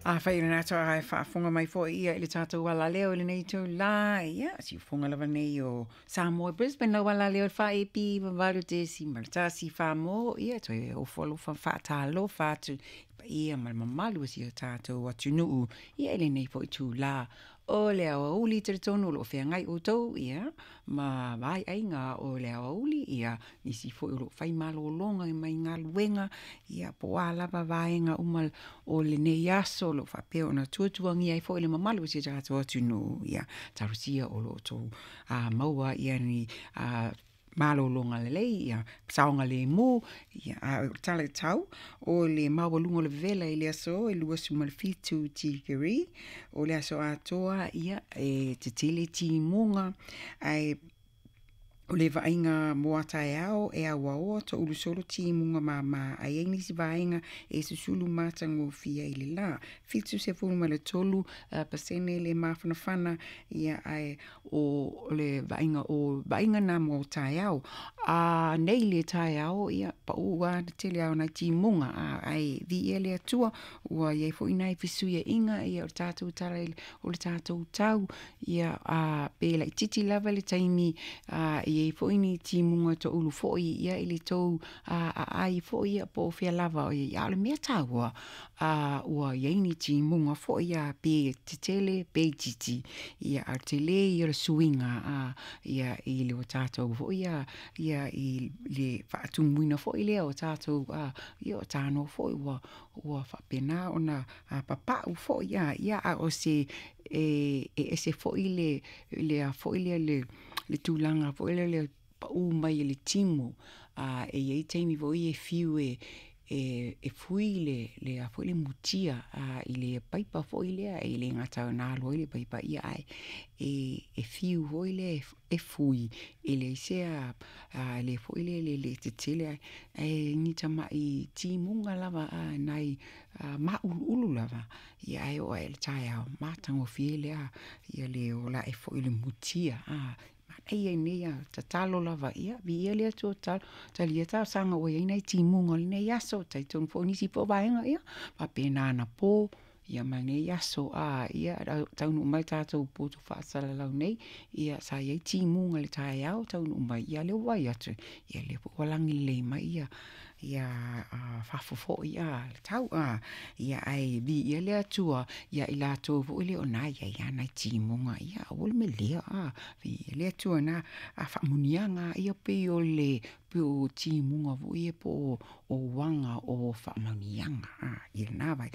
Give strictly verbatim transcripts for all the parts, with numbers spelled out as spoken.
Afai o lena toe faafofoga mai foi ia i le tatou alaleo i lenei itulā, ia, siufofoga lava nei o Samoa i Brisbane, lau alaleo i le fa A P valu tesima le tasi fa mo, ia, toe ofo alofa ma faatalofa atu i paia ma le mamalu o si o tatou atunuu, ia, i lenei foi itulā o le aoauli. Talitonu o lo o feagai outou, ia, ma vaaiaiga o le aoauli, ia, nisi foi o lo o fai malologa mai galuega, ia, po o a lava vaega uma o lenei aso o lo o faapea ona tuatuagia ai foi le mamalu o si o tatou atunuu, ia, talosia o lo o outou maua, ia, ni malologa lelei, ia saogalemu, ia, a o le tala i le tau o le maualuga o le vevela i le aso e luasefulu ma le fitu tikeri o le aso atoa, ia, e tetele timuga, ae o le vaaiga mo a taeao e auaoa toulu solo timuga māmā, ae i ai nisi vaega e susulu matagofie i le lā. Fitu sefulu ma le tolu pasene le mafanafana, ia, ae o le vaaiga o vaaiga na mo taeao. A nei le taeao, ia, paʻū a le tele a o nai timuga, ae viia le Atua ua iai foi nai fesuiaiga, ia, o le tatou tala o le tatou tau, ia, a pe laitiiti lava le taimi a i ai foi ni timuga toulu foi, ia, i le tou aai foi, ia, po o fea lava ia, a o le mea taua a ua iai ni timuga foi ia, pe tetele pe itiiti, ia, a o le telē ia o le suiga a ia i le o tatou foi ia, ia, i le faatumuina foi lea o tatou a, ia, o tanoa foi ua ua faapena ona papaʻu foi a, ia, a o se e ese foi le le a foi lea le le tulaga foi lea le paʻū mai o le timu a e i ai taimi foi e fiu e e fui le le a foi le mutia a i le paipa foi lea e le gata ona alu ai le paipa, ia, ae e e fiu foi lea e fui e leai se a le foi le le tetele ae ni tamaʻi timuga lava a nai maʻuluʻulu lava, ia, ae oo aʻe i le taeao matagofie lea, ia, le ola aʻe foi o le mutia a manaia nei a tatalo lava, ia, viia le Atua, talia talosaga ua iai nai timuga o lenei aso. Talitonu foi nisi foi o vaega ia faapena anapo, ia, ma lenei aso a, ia, taunuu mai tatou poto faasalalau nei, ia, sa iai timuga i le taeao, taunuu mai, ia, lea ua vaai atu, ia, lea foi ua lagi lelei mai, ia, ia fafo foi a le tau a, ia, ae viia le Atua ia i latou foi lea o na iai a nai timuga, ia, aua le melea a, viia le Atua na a faamuniaga, ia, pei o le pei o timuga foi ia po o uaga o faamanuiaga a i lena vai.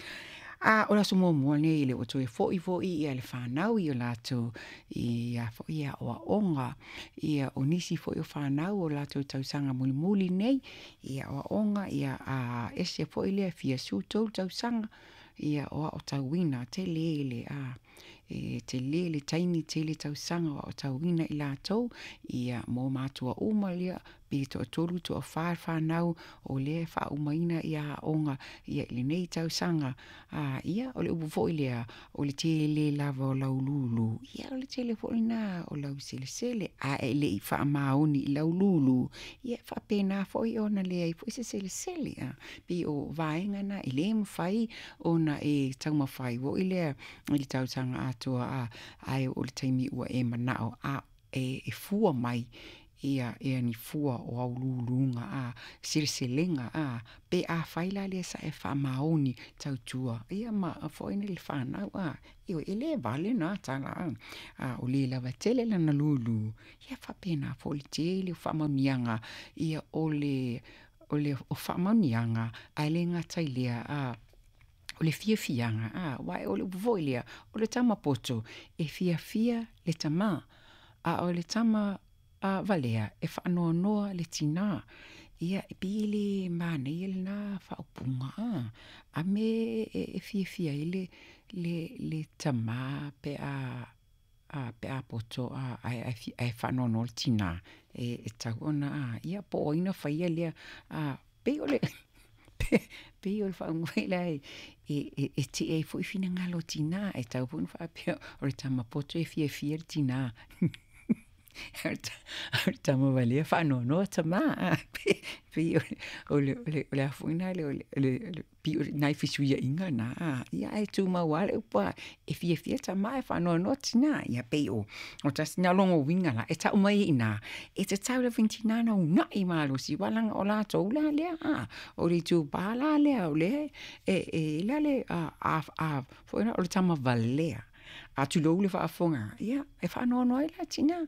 A o le aso muamua lenei le ua toe foi foi ia le fanau i o latou ia foi aoaoga, ia, o nisi foi o fanau o latou tausaga mulimuli nei ia aoaoga, ia, a ese foi lea fia sefulutolu tausaga, ia, o aotauina tele le a e tele le taimi tele tausaga o aotauina i latou, ia, mo matua uma lea pe toatolu toafa fanau o lea e faaumaina ia aoga, ia, i lenei tausaga a, ia, o le upu foi lea o le tele lava o lau lūlū, ia, o le tele foi lena o lau selesele, a e lei faamaoni i lau lūlū, ia, e faapena foi ona leai foi se selesele a pei o vaega na e lē mafai ona e taumafai foi lea i le tausaga atoa a, ae oo i le taimi ua e manao a e fua mai, ia, ia ni fua o au lūlūga a seleselega a pe afai la lea sa e faamaoni tautua, ia, ma foi le fanau a, ioe, e lē vale na tala a, a o le lava tele lana lūlū, ia, faapena foi le tele o faamanuiaga, ia, o le o le o faamanuiaga ae le gata i lea a o le fiafiaga a, aua o le upu foi lea o le tama poto e fiafia le tamā, a o le tama a valea e faanoanoa le tinā, ia, e pei e le manaia lena faaupuga a, a me e fiafia ai le le le tamā pe a a pe a poto a ae ae faanoanoa le tinā e e tau ona a, ia, po o ai na faia lea a pei o le pei o le faaupuga lea e e e tee ai foi finagalo o tinā e tau foi ona faapea o le tama poto e fiafia le tinā. O le tama valea faanoanoa tamā a pei o le o le o le a foi lena o le o le pei o nai fesuiaiga na a, ia ae tumau lava le upu a e fiafia tamā ae faanoanoa tinā. Ia pei o o tasi na o logo uiga la e tau mai ai i ina e tatau lava i tinā ona una'i malosi aua leaga o latou la lea a, o le itupa la lea o lea e e i ai la le a a foi lea o le tama valea. A tulou le faafofoga, ia e faanoanoa ai la tinā.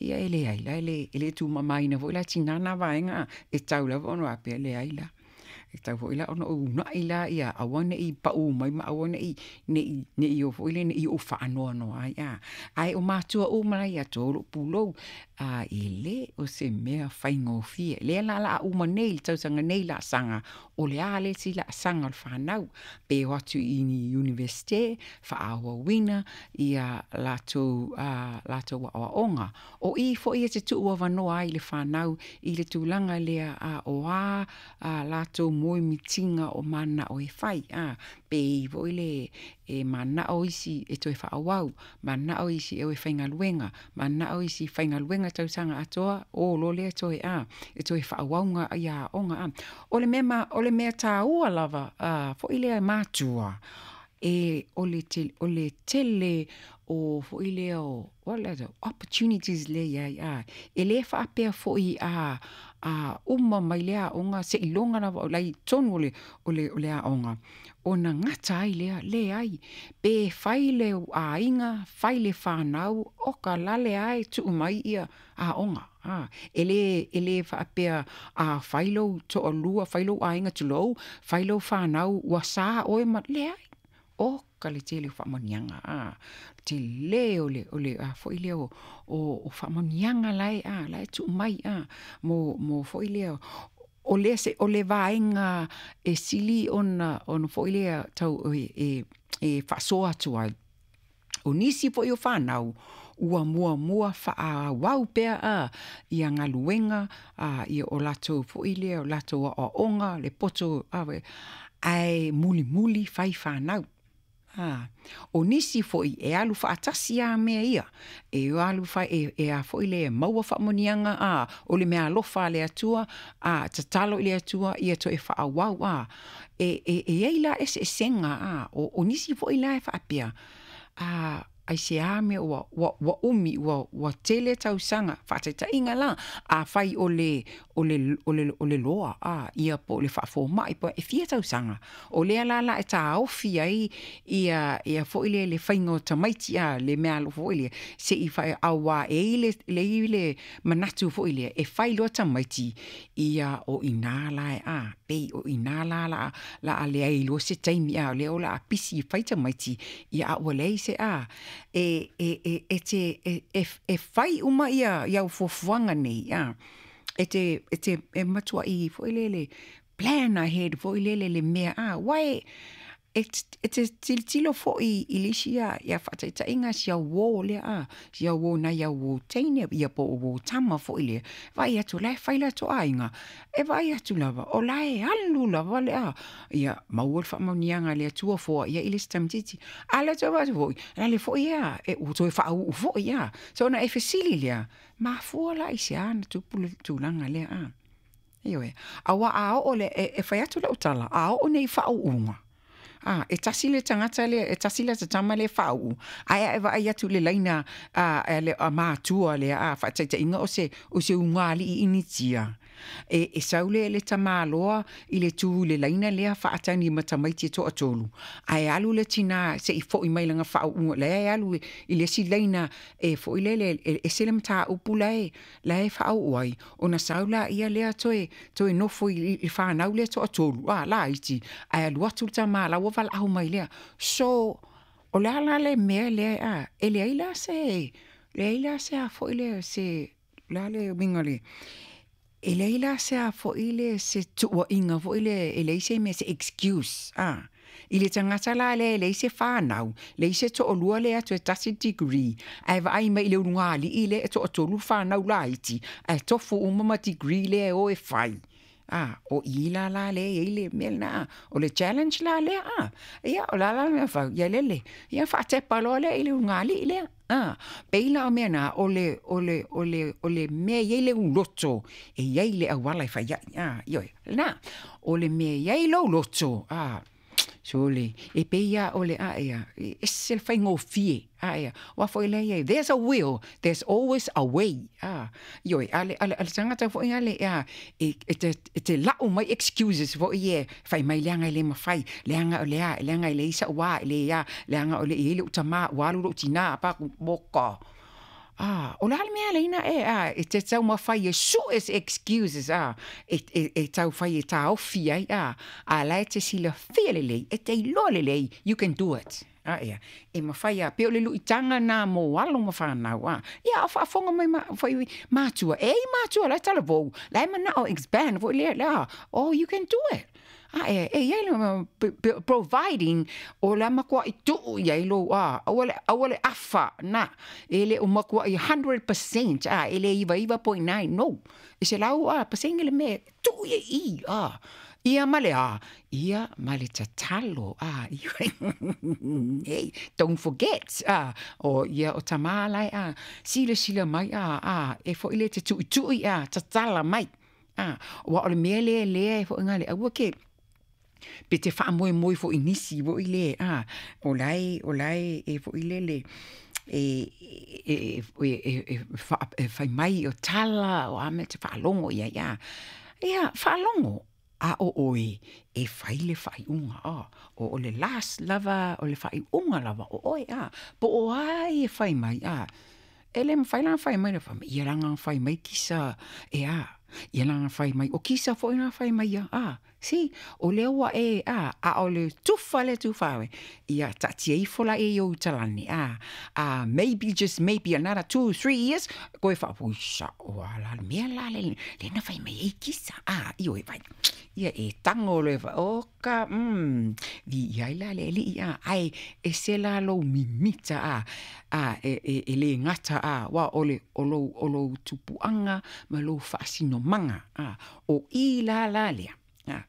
Ia e leai la, e le tuumamaina foi la tinā na vaega e tatau lava ona faapea, leai la. E tatau foi la ona ou uunai la ia aua ne i pau mai ma aua ne i ne i ne i o foi lea ne i ou faanoanoa ai a. Ae o matua uma la ia outou o lou pulou, a e lē o se mea faigofie. Lea la o le a uma nei i le tausaga nei laasaga, o le a le isi laasaga o le fanau, pe o atu i ni Iunivesite, faaauauina ia latou a latou aoaoga. O i foi e te tuu avanoa ai i le fanau i le tulaga lea a o a a latou moemitiga o manao e fai a, pe i foi le e manao isi e toe faaauau, manao isi e o e faigaluega, manao isi e faigaluega tausaga atoa, o loa lea toe a, e toe faaauau ia aoga a. O le mea ma o le mea taua lava a foi lea matua, e o le o le tele o foi lea o opportunities lea e i ai a. E le faapea foi a a uma mai le aoga seiloga lava o la e i totonu o le o le o le aoga ona gata ai lea, leai. Pe fai le aiga, fai le fanau, oka lale lava e tuu mai ia aoga. A, e le e le faapea a fai lou toalua, fai lou aiga tulou, fai lou fanau ua sa oe ma, leai. Oka le tele o faamanuiaga a, tele o le o le a foi lea o o faamanuiaga la e a la e tuu mai a mo mo foi lea o le se o le vaega e sili ona ona foi lea tau e e e faasoa atu ai. O nisi foi o fanau ua muamua faaauau pea a ia galuega a ia o latou foi lea o latou aoaoga le poto ae mulimuli fai fanau. A, o nisi foi e alu faatasi lava mea ia, e alu fai e e a foi le maua faamanuiaga a, o le meaalofa a le Atua, a tatalo i le Atua ia toe faaauau a. E e e i ai la eseesega a, o o nisi foi la e faapea, a aisea mea ua ua ua umi ua ua tele tausaga, faataitaiga la, afai o le o le o le o le loa a ia po o le faafomai po e fia tausaga, o lea la la e taofi ai ia ia foi le le faiga o tamaiti a le meaalofa foi lea se i fai auā e i le le i le manatu foi lea e fai loa tamaiti ia o i ina la e a pei o i ina la la la a leai loa se taimi a o lea o le a pisi e fai tamaiti ia a ua leai se a e e e e te e e e fai uma ia ia au fuafuaga nei a e te e te e matuai foi lele plan ahead foi lele le mea a aua e e e te tilotilo foi i le isi ia ia faataitaiga si au uō lea a, si au uō nai au uō teine ia po o uō tama foi lea, vaai atu o la e fai latou aiga, e vaai atu lava o la e alu lava le a, ia maua le faamanuiaga a le Atua foai ai le isi tamaitiiti. A o le tou vaai atu foi, o le foi ia e ua toe faauu foi a. So ona e fesili lea, mafua la i se a ona tupu le tulaga lea a. Ioe, aua a oo le, e, e fai atu lau tala, a oo nei i faauuga, a, e tasi le tagata lea, e tasi lata tama lea e faauu, ae a e vaai atu i le laina a, a, le, a matua lea, a, faataitaiga o se, o se ugaalii initia, e, e sau le, le tamaloa i le tu i le laina lea faatagi ma tamaiti e toatolu, ae alu le tinā se i foi mai lana faauuga, lea e alu i le isi laina e foi lele, e ese le mataupu la e, la e faauu ai, ona sau laia lea toe, toe nofo i le fanau lea toatolu, a, laiti, ae alu atu le tama la ua valaau mai lea. So, o le a la le mea lea, a, e leai la se, leai la se a foi lea, se, o le a le uiga o le, e leai la se a foi le, se tuuaiga foi lea, e leai se mea, se excuse, a. I le tagata la lea e leai se fanau, leai se toalua lea atu e tasi le degree, ae vaai mai i le ulugalii lea e toatolu le fanau laiti, ae tofu uma ma degree lea e o e fai. A, o i la la lea e i ai le mea lena, a. O le challenge la lea, a. Ia, o le a la le mea e fai? Ia lele. Ia faatepa loa lea i le ulugalii lea. A pei la o mea na, o le, o le, o le, o le mea i ai le uloto, e i ai le auala e fai ai, a, ioe, lena, o le mea e i ai lou loto, a, sole, e pei lava o le a ea, e ese le faigofie, a ea, aua foi lea e i ai, there's a will, there's always a way, a, ioe, a le, a le, a le tagata foi lea a, e, e te, e te lau mai excuses foi ia, fai mai leaga e le mafai, leaga o le a, leaga e leai sa'u a, e le a, leaga o le i ai lo'u tamā, ua alu lo'u tinā, pa moka. Ah, o le a le mea leina e, a, e te taumafai e su'e se excuses, a, e, e, e taufai e taofi ai, a, a la e te silafia lelei, e te iloa lelei, you can do it. A ia, e mafai a, pe o le lu'itaga na mo alo ma fanau, a, ia, o faafofoga mai ma, foi matua, e i matua la e talavou, la e mana'o expand foi lea, lea, oh, you can do it. A e, e i ai le providing o le a matua'i tu'u i ai lou a, aua le, aua le afa na, e le o matua'i one hundred percent, a, e le iva iva point nine, no, e selau a, pasene le mea, tu'u i ai i, a, ia ma le a, ia ma le tatalo, a, hey, don't forget, a, o ia o tamā lae, a, silasila mai, a, a, e fo'i le te tu'itu'i, a, tatala mai, a, ua o le mea lea lea e fo'i gale, aua ke, pe te faamoemoe fo'i nisi fo'i le, a, o lae, o lae e fo'i lele, e, e, e, e, e, e fai mai o tala, o a mea te faalogo i ai, a, ia, faalogo, a o oe, e fai le faaiuga, a, o, o le last lava, o le faaiuga lava, o oe, a, po o ai e fai mai, a, e le mafai la ona fai mai le fai mai, ia laga ona fai mai kisa, e a, ia laga ona fai mai, o kisa foi na fai mai ia, a, si, o lea ua e, a, a o le tufa lea tufa oe, ia taatia ifo la e i ou talani, a, a, maybe, just maybe another two, three years, koe faapo, sa'o a la le mea la le, le na fai mai ai kisa, a, ioe vai, ia e tago loa e fa, oka, mm, viia ai la le alii, a, ae e se la lou mimita, a, a, e, e, e lē gata, a, ua o le, o lou, o lou tupuaga ma lou faasinomaga, a, o i la la lea, a,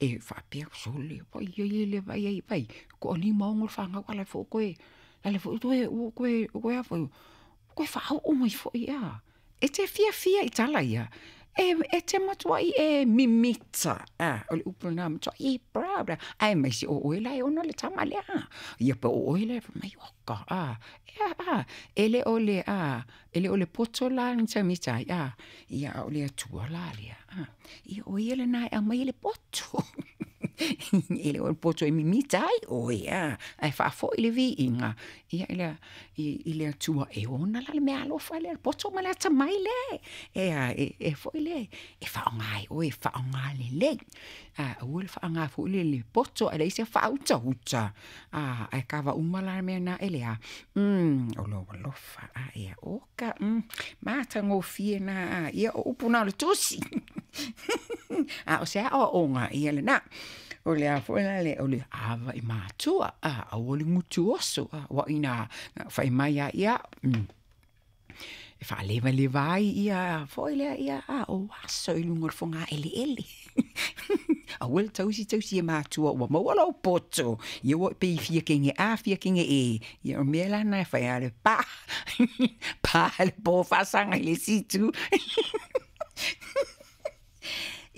e faapea sole, vai ai le vai ai vai, toalima ono le fanau ala foi koe, lale foi toe, ua koe, koe a foi, koe faaoo mai foi, a, e te fiafia i tala ia, e, e te matua'i e mimita, a, o le upu lena matua'i e proud, ae maise o oe la e ona le tama lea, a, ia pe o oe la e fai mai oka, a, ia, a, e le o le, a, e le o le poto la na taumita ai, a, ia a o le Atua la lea, a, ia o ia lena e aumai le poto. E le o le poto e mimita ai oe, a, ae faafo'i le viiga, ia i le, i, i le Atua e ona la le mea alofa lea, le poto ma le atamai lea, e a, e, e fo'i le, e faaaogā e oe, e faaaogā lelei. A, aua le faaaogā foi le le poto ae leai se faautauta, a, ae kava uma la mea na e le a, mm, o lou alofa, a, ia, oka, mm, matagofie na, a, ia o upu na o le tusi. A o se aoaoga ia lena. O le a foi la le, o le ava i matua, a, aua le gutu oso, a, ua ina, fai mai a ia, mm, e faalevaleva ai ia foi lea ia, a, o aso i luga o le fogaeleele. Aua le tausi tausi e matua ua maua lou poto, ia ua pei fia kege A, fia kege E, ia o mea la na e fai a le pa, pa le po faasaga i le isi itu.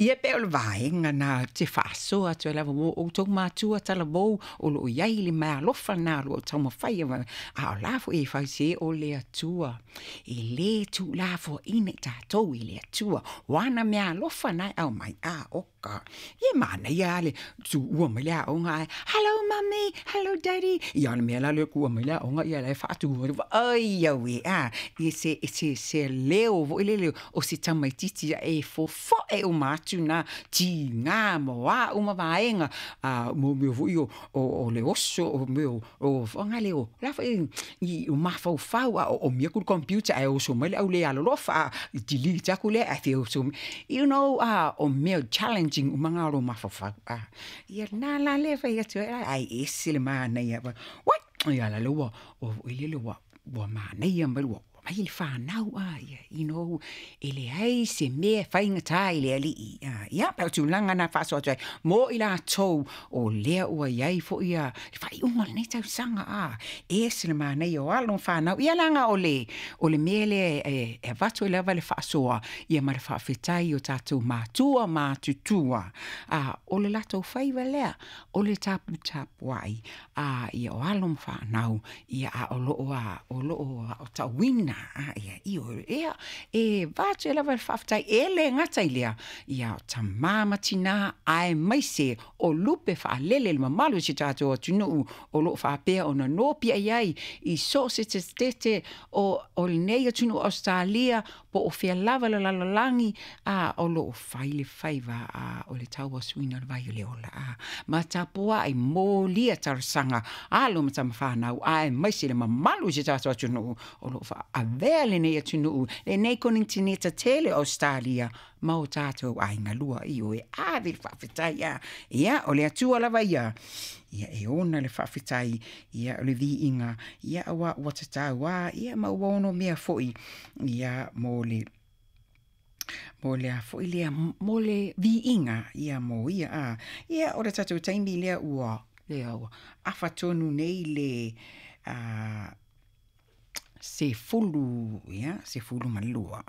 Ia pe o le vaega na te faasoa atu ai lava mo outou matua talavou o loo i ai le meaalofa na o loo taumafai, a o la foi e fai se o le Atua e lē tuulafoaina i tatou i le Atua o ana meaalofa na e aumai, a oka ia manaia a le tuua mai le aoga ae hello mummy, hello daddy, ia o le mea la lea kua mai le aoga ia la e faatu ai au e, a, ia se, se, se leo foi lele o se tamaititi e fofo'e uma atu na tigā ma o a uma vaega, a mo mea foi o, o, o le oso, o mea o, o fagale o la foi i o mafaufau, a o omi aku le computer ae oso mai le au le alolofa, a delete aku lea ae fia oso mai, you know, a o mea challenging uma ga o lou mafaufau, a, ia lena la lea e fai atu ai, ae ese le manaia, what, ia la le ua, ua foi lele ua, ua manaia mai ua Mai le fanau a ia, you know, e leai se mea e faigata i le Alii. A, ia, o tulaga na faasoa atu ai mo i latou o lea ua i ai foi ia le faaiuga o lenei tausaga a, e ese le manaia o alo ma fanau. Ia leaga o le, o le mea lea e, e avatu ai lava le faasoa ia ma le faafetai o tatou matua matutua. A, o le latou faiva lea, o le taputapuai a ia o alo ma fanau, ia a o loo a, o loo a o tauina a ia io ia e avatu ai lava le faafetai e le gata i lea ia o tamā ma tinā aemaise o lupe faalele le mamalu o si tatou atunuu o loo faapea ona nopiai ai i so o se tetete o, o lenei atunuu o Ausetalia po o fea lava le lalolagi a o loo fai le faiva a o le tauasuina o le vai o le ola a ma tapuai molia talosaga alo ma tama fanau aemaise le mamalu o si tatou atunuu o loo faaavea lenei atunuu lenei konetineta tele o Ausetalia ma o tatou aiga lua io e ave le faafetai a ia o le Atua lava ia ia e ona le faafetai ia o le viiga ia aua ua tatau a ia ma ua ono mea foi ia mo le mo le a foi lea mo le viiga ia mo ia a ia o le tatou taimi lea ua lea ua afa tonu nei le a sefulu ia sefulu ma lua.